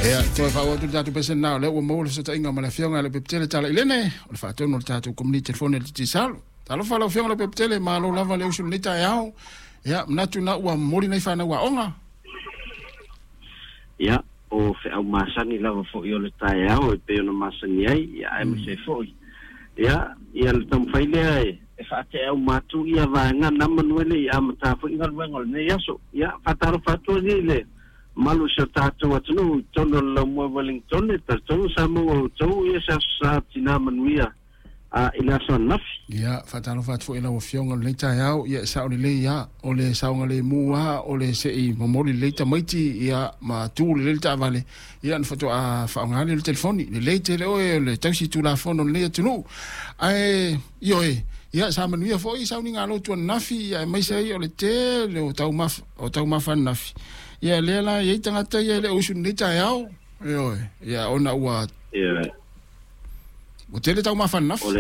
Ia, toe faaauau atu le tatou pesena o lea ua maua le fesootaiga ma le Afioga ia Leupepetele Talailene, o le faatonu o le tatou Komiti Telefoni a le Digicel. Talofa lau Afioga Leupepetele, malo lava le usu i lenei taeao. Ia, manatu na ua momoli nai fanau aoga. Ia, o feau masani lava foi o le taeao e pei ona masani ai, ia aemaise foi. Ia, ia le taumafai lea e, e faatea uma atu ia vaega na manu e le i amata foi galuega o lenei aso. Ia, faatalofa atu ai i le mamalu o si o tatou atunuu i totonu o le laumua i Wellington, e talitonu sa maua e outou ia se aso sa tina manuia a i le aso ananafi. Ia, faatalofa atu foi i lau Afioga i lenei taeao. Ia, e sao lelei lava, o le saogalemu lava, o le se i momoli lelei tamaiti, ia, ma tu lelei le taavale, ia, ona faatoa faaaoga lea o le telefoni. Lelei tele oe o le tausi tulafono o lenei atunuu. Ae, ioe, ia, sa manuia foi sauniga lotu ananafi, ia, aemaise ai o le tele o taumafa, o taumafa ananafi. Ia, lea la e i ai tagata ia e le o usu i lenei taeao, ioe, ia, ona ua, Ioe. ua tele taumafa ananafi. O le